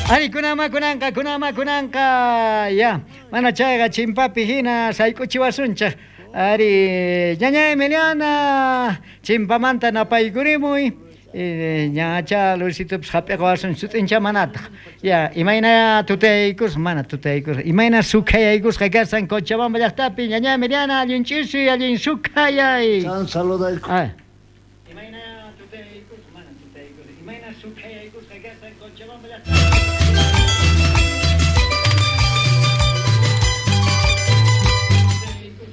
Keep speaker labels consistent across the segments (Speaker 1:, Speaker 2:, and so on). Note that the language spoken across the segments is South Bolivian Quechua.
Speaker 1: Ari kunanma kunanqa kunanma kunanqa ya mana chayqa chimpapi hina sayk'uchiwasunchik. Ari ñaña Emiliana chimpamanta napaykurimuy. Ñacha Luisitopis hap'iqawasun sut'incha manataq. Ya imayna tutayaykusqa mana tutayaykusqa imayna sukhayaykusqa kashan Cochabamba llaqtapi ñaña Emiliana allin ch'isi allin sukhayay.
Speaker 2: San saludayku.
Speaker 1: Imayna tutayaykusqa mana tutayaykusqa imayna sukhayaykusqa kashan Cochabamba llaqtapi.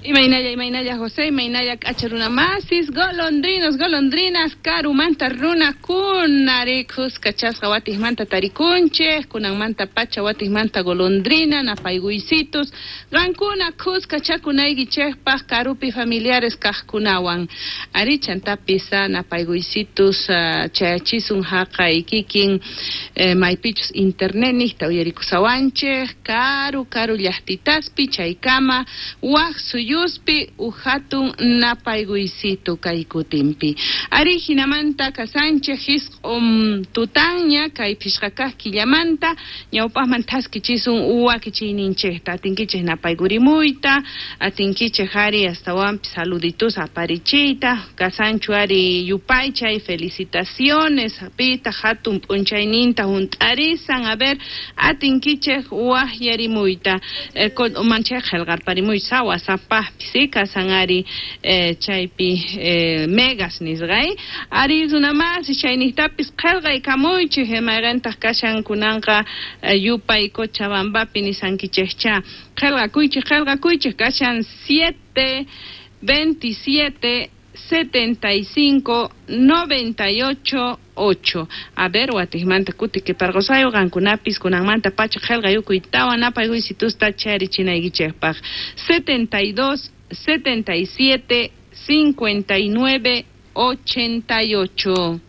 Speaker 3: Imaynalla, imaynalla, José, imaynalla, k'acha runa masis, golondrinos, golondrinas, karumanta runakuna, khuskachasqa watijmanta tarikunchej, kunanmanta pacha watijmanta golondrina, napayguysitus, qankuna khuskachakunaykichejpaj karupi familiares kajkunawan. Ari chantapis napayguysitus chayachisun jaqay kikin maypichus internet niqta uyarikusawanchej, karu karu llaqtitaspi chaykama waj suyuspi uhatun napayguysitu kay kutinpi. Ari hinamanta kasanchej jisq'un tutanña kay phishqa kaq killamanta ñawpaqman thaskichisun wakichiyninchejta atinkichej napaykurimuyta atinkichej ari astawanpis saluditus aparichiyta kasanchu ari yupaychay felicitaciones pita hatun p'unchayninta hunt'arisan a ver atinkichej waqyarimuyta manchay qillqarparimuyta WhatsAppapis kasan ari chaypi megas nisqay ari runamasi chayniqtapis qillqaykamuychej mayqintaq kashan kunanqa yupay Cochabambapi nisankichejcha qillqakuychej qillqakuychej kashan 7 27 75 98 8. A ver, watijmanta kutikiparqosayo qankunapis kunanmanta pacha qillqayukuytawan napayguysitusta charichinaykichejpaj 72 77 59 88.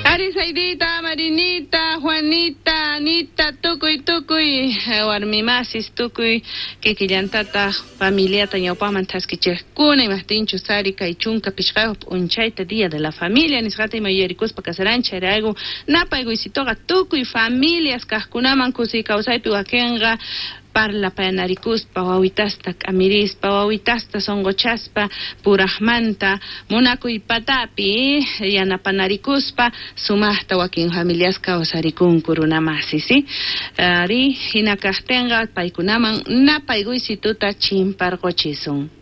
Speaker 3: Ari Saidita, Marinita, Juanita, Anita, tukuy tukuy, warmimasis tukuy, kikillantataq familiata ñawpaqman thaskichejkuna, imajtinchus ari kay chunka pishqayuq p'unchayta día de la familia nisqata ima yuyarikuspa kasaranchik chayrayku napaykuysituqa tukuy familias kaqkunaman kusiy kawsaypi wakinqa parlapayanarikuspa wawitasta k'amirispa wawitasta sunquchaspa purajmanta munakuy patapi yanapanarikuspa sumaqta wakin familias kawsarikunku runamasi si ari hina kaqtinqa paykunaman napaykuysituta chimparquchisun.